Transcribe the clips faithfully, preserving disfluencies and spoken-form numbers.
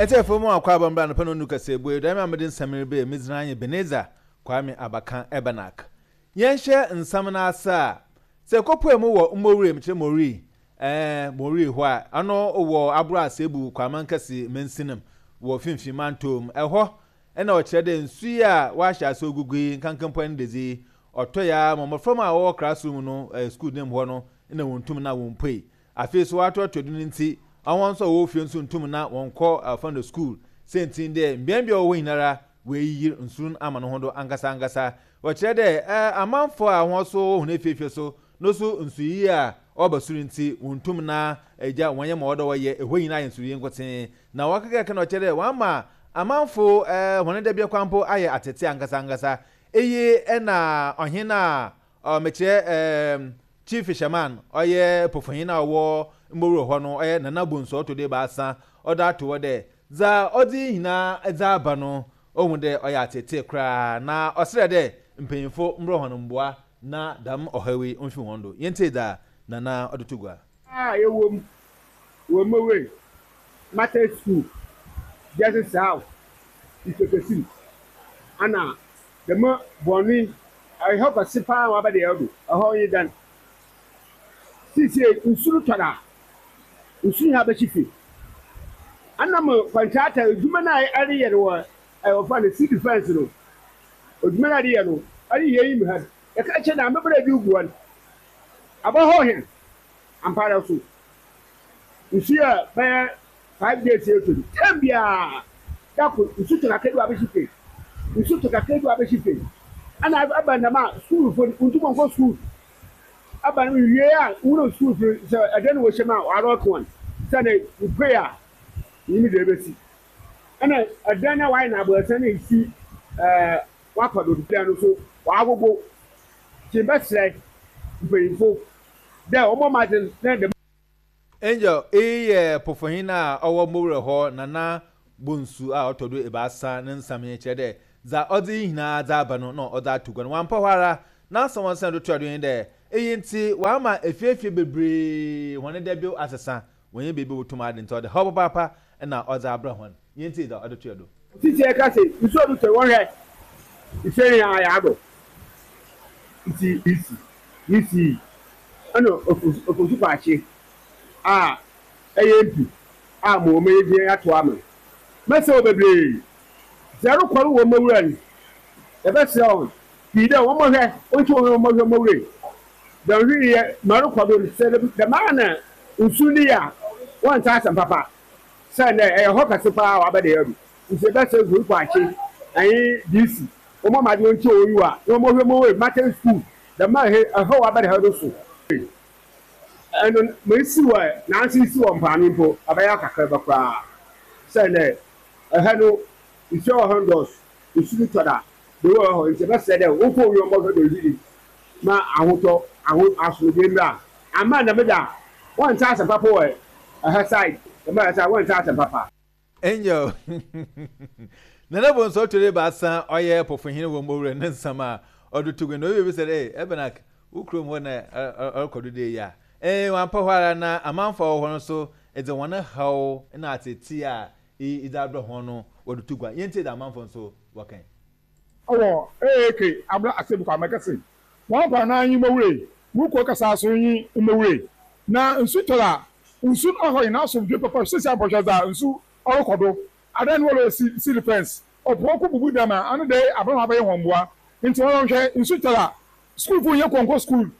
Ɛtɛfo mu akɔ abɔmbra no pɛ no nu kɛsɛ bue dɛm a mede nsɛm rebe medzina nye Beneza Kwame Abakan Ebenak. Yɛnhyɛ nsɛm no ase a, sɛ kɔpue mu wɔ mmɔwura mu kyerɛ Mori ɛɛ Mori hɔ a, ɔno wɔ aboro asebu Kwaman Kɛse mansinam wɔ Finfin mantom ɛhɔ, ɛna ɔkyerɛ dɛ nsu yi a wɔahyɛ ase ogugu yi nkankampo ne dedzi ɔtɔ ya ma mmɔfra mu a wɔwɔ classroom no, ɛɛ school dan mu hɔ no, ɛna wɔn ntum na wɔn mpue. Afei so wɔatoatoa do no nti, wɔn nso a wɔwɔ fie nso ntum na wɔn kɔ afa no school sɛntin dɛ mbeambea wɔwɔ nyinara wɔayiyi nsu no ama no ho do ankasa ankasa. Wɔkyerɛ dɛ ɛɛ amanfoɔ a wɔn nso wɔ hɔn efiefie so no so, nsuyi a ɔba soro nti wɔn ntum na agya wɔn yɛ ma wɔdɔ wɔyɛ ɛhɔ nyinaa yɛ nsuyi nkotsee. Na wɔkeka na ɔkyerɛ dɛ wɔama amanfo ɛɛ wɔn dabea kwampo ayɛ atete ankasa ankasa. Eyi ɛna ɔhen a ɔmɛkyerɛ ɛɛm Chief Fisherman, ɔyɛ pofohin a ɔwɔ mbowuro hɔ no, ɔyɛ Nana Bonsu ɔtɔ do ebaasa, ɔda ato hɔ dɛ dza ɔdze nyinaa dze aba no, ohun dɛ ɔyɛ atete koraa, na ɔsrɛ dɛ mpanyinfo mbrɛ hɔn mboa na dɛm ɔhaw yi mfi wɔn do. Yɛntie dza Nana ɔde to gua. A ɛwɔ mu wɔ Mowe Market School, Justice House, Ifekesim, ana dɛm bɔnne ɛhɔ kɛse paa waba deɛ ɛdo ɛhɔ yi dan sisi nsu no tɔra, nsu yi abɛhye fie. Anam contractor edwuma no a ɛreyɛ no wɔ ɛwɔ fa no sea defence no, edwuma no a ɛreyɛ no ɛreyɛ yi mu ha, yɛka kyerɛ na amebere de gu hɔ no abɔhɔ hɛn ampara so nsu yɛ bɛyɛ five days yɛ to ten biara dako nsu tɔ kakra bi wɔ abɛhye fie, nsu tɔ kakra bi wɔ abɛhye fie. Ɛna aba nam a sukuulfo ntoma nkɔ sukuu aba no wie a, wúlò sukuulfo sɛ ɛdɛ no wɔhyɛ mu a wɔarɔto wɔn sɛ ne mpue a nyimi deɛ ebesi. Ɛna ɛdan na wɔayɛ no abɔɛsɛn na esi ɛɛ wakɔ do dan no so wɔagogo kye. Bɛsrɛ mpanyinfo dɛ wɔn ɔmo na dɛm. Angel, eyi yɛ pofohin a ɔwɔ mbowura hɔ, Nana Bonsu a ɔtɔ do ebaasa, ne nsɛm yi kyerɛ dɛ dza ɔdze yi nyinaa dze aba no na ɔdze ato gua no wampɛ hɔ ara n'asɛm wɔn do toa do yi dɛ eyi nti wama efiefie bebree wɔn dɛbi asesa wɔnyɛ beebi wotum ade, nti ɔde haw papaapa ɛna ɔdze abrɛ hɔn. Yɛn ti dza ɔde toa do. Sisi ɛka sɛ nsuo do tɔ, wɔhwɛ nsuo yi a yɛadɔ nti isi isi ɛna ofosu paakye a ɛyɛ mpi a mo wɔn yɛ gyina ato ama mɛsɛ wɔ bebree sɛ ɛrekɔre wɔ mawura no. Yɛbɛsrɛ wɔn pii dɛ wɔn mɔhwɛ wɔn wɔn wɔn mɔhwɛ mawura yi dɛm hwee yɛ mɛrekɔ do sɛ dɛm ara na nsu ni a wɔn nsa asɛm papa sɛ nɛ ɛyɛ hɔ kɛse paa wabɛ de yɛ do. Nti yɛbɛsrɛ nsuo paakye ɛyin D C wɔn mɔ adi wɔn ti wɔn yi wa na wɔn mɔhwɛ mawura yi market school dɛm a ɛhɔ wabɛ de yɛ do so ɛno mɛ esi wɔ nansi esi wɔ mpaano mpo abɛyɛ kakra bɛ koraa sɛ nɛ ɛhɛ no nsuo wɔ hɔ ndɔs nsu no tɔ da de wɔ hɔ. Nti ɛbɛsrɛ dɛ wokɔ wi wɔn bɔhwɛ dɛ yiri ma ahotɔ aho asomdwe mmra ama dɛm da wɔn nsa asɛm papa wɔ ɛhɛ side dɛm ɛhɛ side wɔn nsa asɛm papa. Angel, Nana Bonsu ɔtɔ do ebaasa, ɔyɛ pofohin wɔ mbowura, ne nsɛm a ɔde to gu na obi bi sɛ dɛ ɛbɛnak wo kurom hɔ na ɔrekɔ do de yi a ɛɛ wampɛ hɔ ara na amanfo a wɔwɔ hɔ no so ɛdze wɔn haw na atete a ɛdze abrɛ hɔn no wɔde to gua. Yɛntie dɛ amanfo nso wɔkɛn. Ɔwɔ eeke abla asɛm kɔ amɛkɛse wɔn kwan na anyi mowure mu kɔ kasa so nyi mowure na nsu tɔrɔ a nsu ɔhɔ yi n'asomdwe papa. Sisi abɔhwɛ dza nsu ɔrekɔ do adan no wɔlɔ si si fence ɔpɔ kɔ bubu dam a ano de abɛn abɛyɛ wɔn mboa. Nti wɔn hwɛ nsu tɔrɔ a sukuulfo nyɛ kɔnkɔ skuul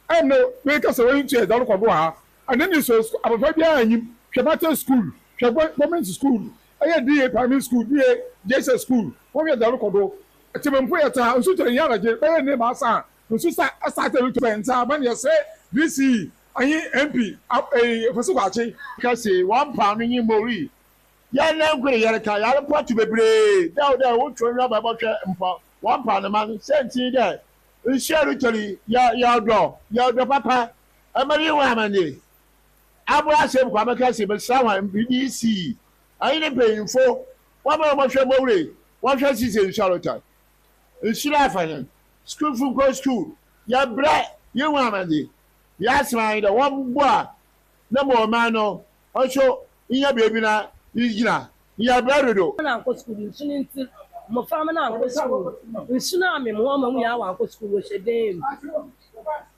ɛnna wei kasa wɔn ntua ɛdza ɔrekɔ do wɔ ha ɛne ne so abɔfra biara anyim. Hwɛ market school, hwɛ government school, ɛyɛ D A primary school, D A J S school, wɔn hwɛ ɛdza ɔrekɔ do. Tẹmɛmpo yɛ taa nsu tɔrɔ nyɛ anagye bɛyɛ ne ma asa nsu sa asa tɛ bi tɔ nsa aban yɛ sɛ D C anyi M P ɛyi Efesi Kwakye. Kɛse wɔn paano nyi mori yɛn nan nkoro yɛreka yɛrepɔto bebree dɛw dɛ wotwo nwa bɛbɔhwɛ mpɔ wɔn paano ma no sɛnti dɛ nsuo retɔri yɛ yɛdɔ yɛdɔ papa ɛmɛ yi wɔn amane aboa asɛm kwame kɛse mesra wɔn D C ayi ne mpanyinfo wɔn a wɔhwɛ mowure wɔhwɛ sise nsuo retɔ nsuo afa yɛn sukuulfo nkɔ sukuu yɛbrɛ yi wɔn amane yɛasɛm ayi dɛ wɔn bɔ a na ma ɔman no ɔnso nyɛ beebi na gyina. Yɛbrɛ dodo. Na ankɔ sukuu nsu no nti mmɔframma no ankɔ sukuu nsu no amem wɔn ma mu nyinaa wankɔ sukuu wɔhyɛ dan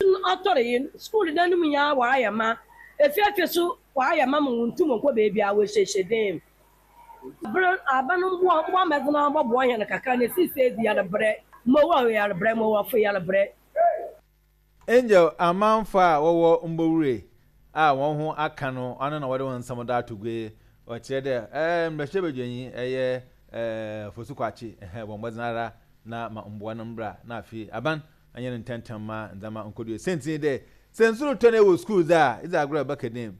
mu ɔtɔre yi sukuu dan no mu nyinaa wɔayɛ ma efiefie so wɔayɛ ma ma wɔntum nkɔ beebi a wɔhyehyɛ dan mu bere aba no mboa mboa mɛdze no bɔboa yɛn kakra na esisi edi yɛrebrɛ mmowa yɛrebrɛ mmowafo yɛrebrɛ. Angel amanfo a wɔwɔ Mbowure a wɔn ho aka no ɔno na wɔde wɔn nsɛm do ato gua. Ɔkyerɛ dɛ ɛɛ mmarahyɛbadwanyi ɛyɛ ɛɛ Fosu Kwakye ɛhɛn bɔ mbɔdzen ara na ma mboa no mbra na afei aban anyɛ no ntɛntɛm ma ndzɛmba nkɔdo. Sɛnti dɛ sɛ nsu rotɔ na ɛwɔ sukuu dze a edze agorɔ ɛbɛka dɛm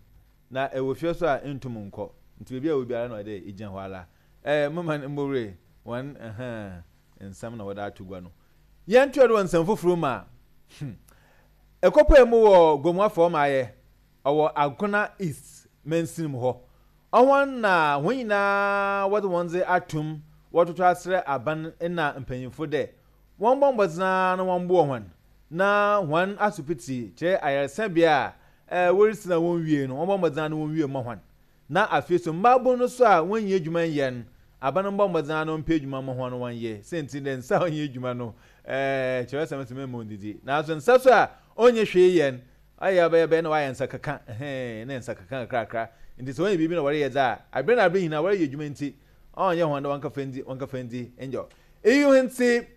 na ɛwɔ fie so a ntum nkɔ nti beebi a ɛwɔ biara na ɔde egyina hɔ ara ɛɛ mama Mbowure wɔn ɛhɛn nsɛm na wɔde ato gua no. Yɛn to ɛdo wɔ nsɛm foforɔ mu a hmm ɛkɔpɛ mu wɔ Gomoa fam ayɛ ɔwɔ Agona East mansin mu hɔ ɔwɔn na wɔn nyinaa wɔde wɔn dze atum wɔtoto asrɛ aban na mpanyinfo dɛ wɔn bɔ mbɔdzen na wɔn boɔ wɔn na wɔn asopiti kyerɛ ayaresabea a ɛɛ wɔresi na wɔn wie no wɔn bɔ mbɔdzen na wɔn wie ma wɔn na afei so mmaabun no so a wɔn nyɛ adwuma nyɛ no aban bɔ mbɔdzen na wɔn mpɛ adwuma ma wɔn wɔn yɛ sɛnti dɛ nsa a ɔnyɛ adwuma no ɛɛ kyerɛ sɛm sɛ mɛmɛ ndidi nanso nsa so a ɔnyɛ hwee yɛ no ɔyɛ ɔbɛyɛ bɛyɛ na wayɛ nsa keka ɛhɛn ne nsa keka kakrakra nti sɛ wɔnyɛ biribi na wɔreyɛ dze a abere na abere nyinaa wɔreyɛ adwuma nti ɔnyɛ wɔn dɛ wɔn kafa ndi wɔn kafa ndi njɔ eyi ho nti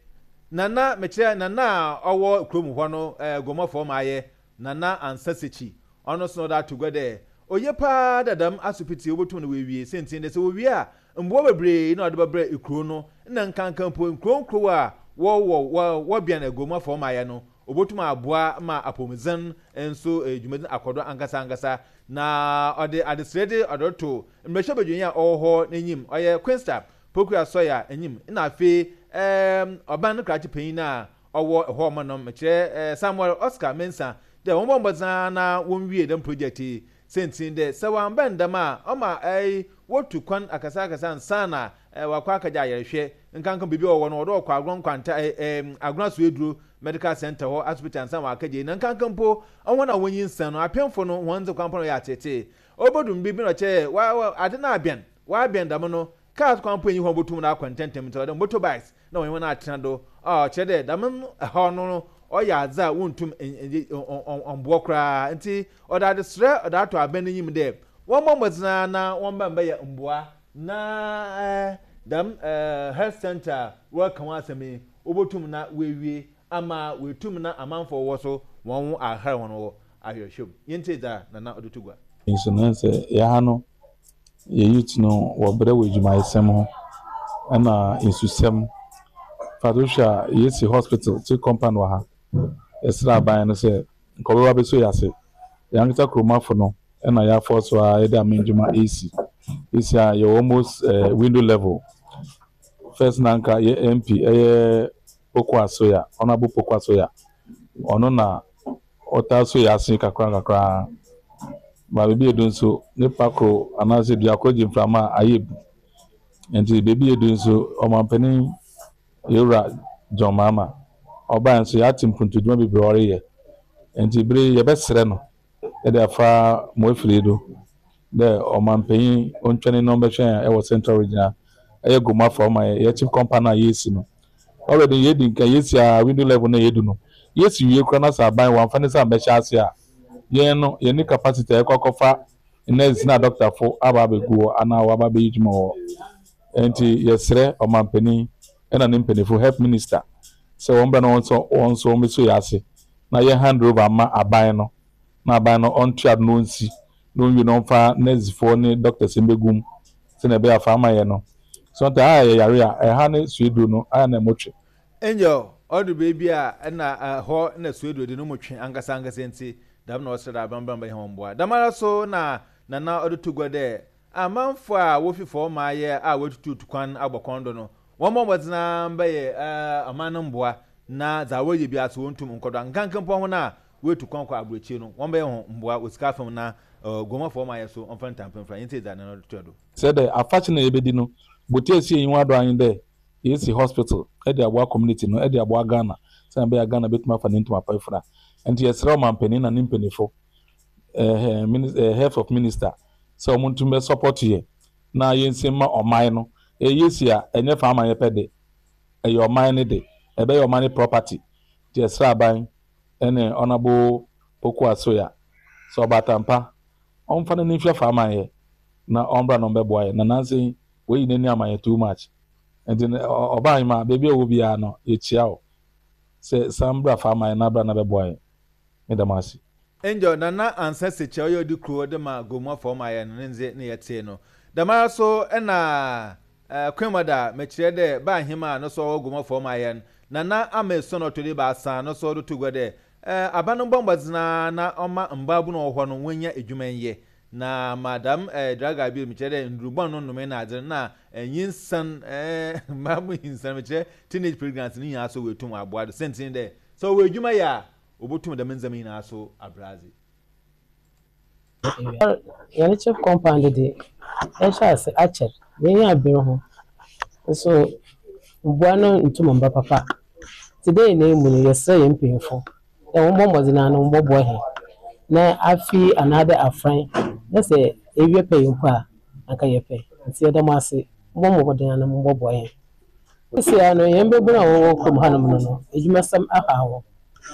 nana mekyerɛ nana a ɔwɔ kurom hɔ no ɛɛ Gomɔfoɔ ma ayɛ Nana Ansa Sekyi ɔno so na ɔde ato gua dɛ oye paa dadam asopiti obotum no wɔawie sɛnti dɛ sɛ wɔwie a mboa bebree na ɔde bɛbrɛ ekuro no na nkankan mpo nkuro nkuro a wɔwɔ wɔbɛn Agomuafoɔ ma ayɛ no obotum aboa ma apɔmuden nso dwumadin akɔdo ankasa ankasa na ɔde adesrɛ de ɔde to mmarahyɛbadwanyi a ɔwɔ hɔ n'enyim ɔyɛ Queensta Pokua Sɔya enyim na afei ɛɛm ɔban no krakye panyin a ɔwɔ hɔ ɔmo nom kyerɛ ɛɛ Samuel Oscar Mensah dɛ wɔn bɔ mbɔdzen na wɔnwie dɛm project yi sɛntin dɛ sɛ wɔambɛn dɛm a ɔma ɛɛ wotu kwan akasa akasa nsa na ɛɛ wakɔ akagya ayɛrehwɛ nkankan biribi a ɔwɔ no wɔde ɔkɔ Agorɔ Nkwanta ɛɛ ɛɛ Agorɔ Asoeduro Medical Center hɔ asopiti ansa na wakagya yi na nkankan mpo ɔwɔn a wɔnyi nsa no apɛnfo no wɔn dze kwan pɔn yɛ atete ɔbɛdum bi bi na ɔkyɛ wa wa ade na abɛn wabɛn dɛm no cars kwan po enyi hɔ botum na akɔ ntɛntɛm nti ɔde motorbikes na wɔn wɔn atena do a ɔkyerɛ dɛ dɛm ɛhɔ no no ɔyɛ adze a wɔntum ɔmboɔ koraa nti ɔde adesrɛ ɔde ato abɛn n'enyim dɛ wɔn bɔ mbɔdzen na wɔn bɛn bɛyɛ mboa na ɛɛ dɛm ɛɛ health center a wɔreka wɔn asɛm yi wɔbɛtum na wɔawie ama wɔatum na amanfoɔ wɔ so wɔn ho ahare wɔn wɔ ahwehwɛ mu yɛntie dza nana ɔde to gua. Nso no sɛ yɛha no yɛ youth no wɔbrɛ wɔ adwumayɛsɛm ho ɛna nsusɛm fato hwɛ a yɛsi hospital ti compound wɔ ha yɛsrɛ aban no sɛ nkɔbɛba bɛso yɛ ase yɛn ankasa kuromafo no ɛna yɛafɔ so a yɛde ama ndwuma esi esi a yɛwɔ almost uh, window level. First na nka yɛ M P ɛyɛ Poko Asoya, Honourable Poko Asoya, ɔno na ɔtaa so yɛ ase kakra kakra ba beebi edu nso nipa koro anaasɛ dua koro gye mframa a ayɛ bu nti beebi edu nso ɔmampanin yɛwura John Mahama ɔbaa nso yɛate mpuntudwuma bebree ɔreyɛ nti bere yɛbɛsrɛ no yɛde afa mo afiri do dɛ ɔmampanin ontwɛne na ɔmbɛhwɛ yɛn ɛwɔ Central Region a ɛyɛ Gomoa ɔma yɛ yɛ chief compound a yɛsi no already yɛdi nka yɛsi a window level na yɛdu no yɛsi wie koraa na sɛ aban wɔamfa ne sɛ ambɛhyɛ ase a yɛn no yɛn capacity a yɛkɔ akɔfa nurse na doctorfo aba abɛgu hɔ anaa wɔaba abɛyɛ adwuma wɔ hɔ nti yɛsrɛ ɔmampanin ɛna ne mpanimfo, health minister, sɛ wɔn bɛ no wɔn nso wɔn nso wɔn bɛso yɛ ase na yɛ hand over ama aban no na aban no ɔntua do na ɔnsi na ɔnwie na ɔmfa nursefoɔ ne doctors mbɛgu mu sɛnea ɛbɛyɛ afa ama yɛ no so nta a yɛ yare a ɛha ne sueduro no ayɛ na ɛmɔtwe. Angel ɔdo beebi a ɛna ɛhɔ na sueduro de no mu twe ankasa ankasa nti dɛm na ɔsrɛ dɛ abambam bɛyɛ wɔn mboa dɛm so na nana ɔde to gua dɛ amanfo a wofi fɔm ayɛ a wɔatututu kwan abɔ kɔn do no wɔn bɔ mmɔdena bɛyɛ ɛɛ ɔman no mboa na dza wɔyɛ bi aso wɔntum nkɔdɔ nkankan ho no a wɔatu kwan kɔ aburokyire no wɔn bɛyɛ ho mboa wɔ sika fam na ɛɛ Gomafo ɔman yɛ so ɔmfa ntampemfra yɛn ti dza nana ɔde to do. Sɛ dɛ afakyɛ na yɛbɛdi no bote esi enyiwa do anyi dɛ yɛsi hospital ɛde aboa community no ɛde aboa Ghana sɛnea ɛbɛyɛ Ghana bɛtumi afa ne ntoma pa afira nti yɛsrɛ ɔmampanin na ne mpanimfo ɛɛ ɛɛ health of minister sɛ wɔn ntumi bɛ support yɛ. Na yɛnsi ma ɔman no. Ɛyɛ si a ɛnyɛ fa ama yɛpɛ de, ɛyɛ ɔman no de, ɛbɛyɛ ɔman no property. Nti ɛsrɛ aban ɛne Honourable Poku Asoya sɛ ɔbatampa ɔmfa no ne nhwɛ fa ama yɛ na ɔmbra na ɔmbɛboa yɛ. Na nansa wɔyi n'ani ama yɛ too much, nti ɔbaa yi ma beebi a ɛwɔ biara no, yɛkyia o sɛ san bra fa ama yɛ na bra na bɛboa yɛ. Meda mo ase. Angel Nana Ansa Sekyɛ, ɔyɛ ɔdi kuro de ma Gomoa fɔm ayɛ no ne ndze ne yɛtee no dɛmara so. Ɛna ɛɛ Kwemada mɛkyerɛ dɛ baa ahema a no so ɔwɔ Gomoa fɔm ayɛ no, Nana Ama Esuo na ɔtɔ de baasa no so ɔde to gua dɛ ɛɛ aba no mbɔ mbɔdzena na ɔma mbaabu no wɔ hɔ no wɔnya edwuma nyɛ na madam ɛɛ draga bi mekyerɛ dɛ ndurubɔn no nnome na adze na nyinsan ɛɛ mbaabu nyinsan, mekyerɛ teenage pregnancy no nyinaa so wɔetum aboa do sɛntin dɛ sɛ ɔwɔ edwuma yɛ a, obotum dɛm ndzɛmba nyinaa so abradze. Yɛn CHPS compound de ɛhyɛ ase akyɛ, yɛn abere ho nso mboa no ntum mba papa. Nti dɛ nyinaa mu no, yɛsrɛ yɛn mpanyinfo dɛ wɔn bɔ mmɔden ano wɔbɔboa hɛn na afi anaadɛ afran na sɛ ewie pɛ yɛn mpo a anka yɛpɛ. Nti yɛda mo ase, mbɔ mmɔden ano mbɔboa yɛn. Sisi ano yɛn mbɛbunu a wɔwɔ kurom hanom no no edwumasɛm aha wɔn.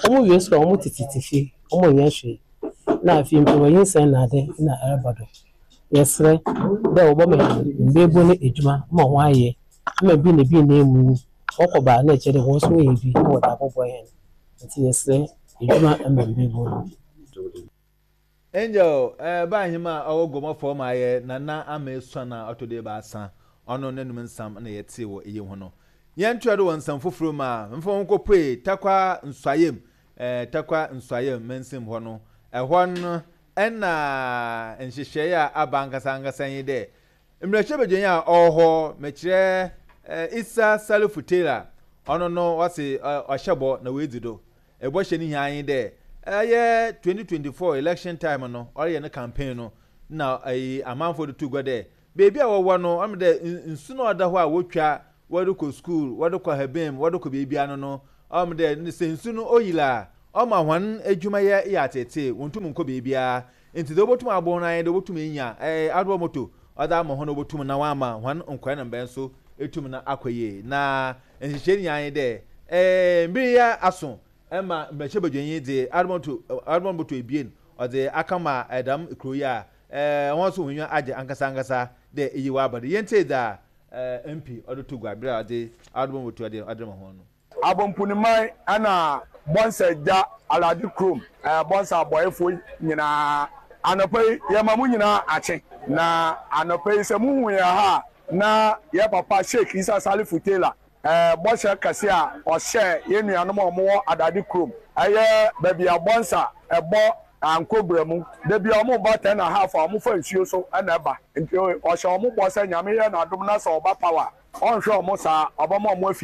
Wɔn wie sukuu a, wɔn tete fie, wɔn nyɛ hwee, na afei mpo wɔnyinsɛn na ade na ɛreba do. Yɛsrɛ dɛ wɔbɛma yɛn mbɛɛbu no edwuma ma wɔn ayɛ ama bi na bi na emu wɔkɔ baa na ɛkyerɛ dɛ wɔn nso wɔyɛ bi na wɔde abɔboa yɛn. Nti yɛsrɛ edwuma ama mbɛɛbu no. Angel ɛɛ baa ahema a ɔwɔ Gomoa fɔm ayɛ, Nana Ama Esuo na ɔtɔ de baasa, ɔno n'anum nsam na yɛte wɔ eyi ho no. Yɛn toa do wɔ nsɛm foforɔ mu a mfa wɔn kɔpue Tarkwa Nsuaem, ɛɛ Tarkwa Nsuaem mansim hɔ no. Ɛhɔ no ɛna nhyehyɛeɛ a aba ankasa ankasa yi dɛ mmarahyɛbadwani a ɔwɔ hɔ, mɛkyerɛ ɛɛ Issa Salifu Taylor, ɔno no wɔsi ɔhyɛ bɔ na wɔadzi do. Ɛbɔhyɛ no hia yi dɛ ɛyɛ twenty twenty-four election time no, ɔreyɛ ne campaign no na ɛyi amanfoɔ de to gua dɛ beebi a wɔwɔ no, ɔmo dɛ nsu na ɔda hɔ a wotwa wɔde kɔ school, wɔde kɔ habem, wɔde kɔ beebi ano no, ɔmo dɛ sɛ nsu no oyila a, ɔma wɔn adwumayɛ yɛ atete, wɔntum nkɔ beebiara. Nti deɛ wɔbɛtum abɔ no ayɛ dɛ wɔbɛtum anya ɛɛ adoɔ moto ɔde ama hɔn, wɔbɛtum na wɔama wɔn nkɔɛ na mbɛn so etum na akɔ yie. Na nhyehyɛ nyinaa yɛ dɛ ɛɛ mbiri yɛ aso ɛma mmarahyɛbadwanyi de adoɔ adoɔ moto ebien ɔde aka ma ɛdam kuro yi a ɛɛ wɔn nso wɔn nwa agye ankasa ankasa dɛ eyi wɔ aba do. Yɛn te da ɛɛ M P ɔde to gua abere a ɔde adoɔ moto ɔde ɔde ma wɔn no. Abomponiman ɛna Bɔnsa Gya Alade kurom, ɛɛ Bɔnsa abɔɛfoɔ nyinaa, anɔpa yi yɛma mo nyinaa akye. Na anɔpa yi sɛ muhu yɛn ha na yɛ papa Sheikh Isa Salifu Taylor ɛɛ bɔhyɛ kɛse a ɔhyɛ yɛn nuanom a wɔwɔ Adade kurom, ɛyɛ baabi a Bɔnsa ɛbɔ Ankobra mu, debi a wɔn ba ten and a half a wɔn fa nsuo so ɛna ɛba. Nti ɔhyɛ wɔn bɔ sɛ Nyame yɛ n'adom na sɛ ɔba power, ɔnhwɛ wɔn saa, ɔbɛma wɔn afi.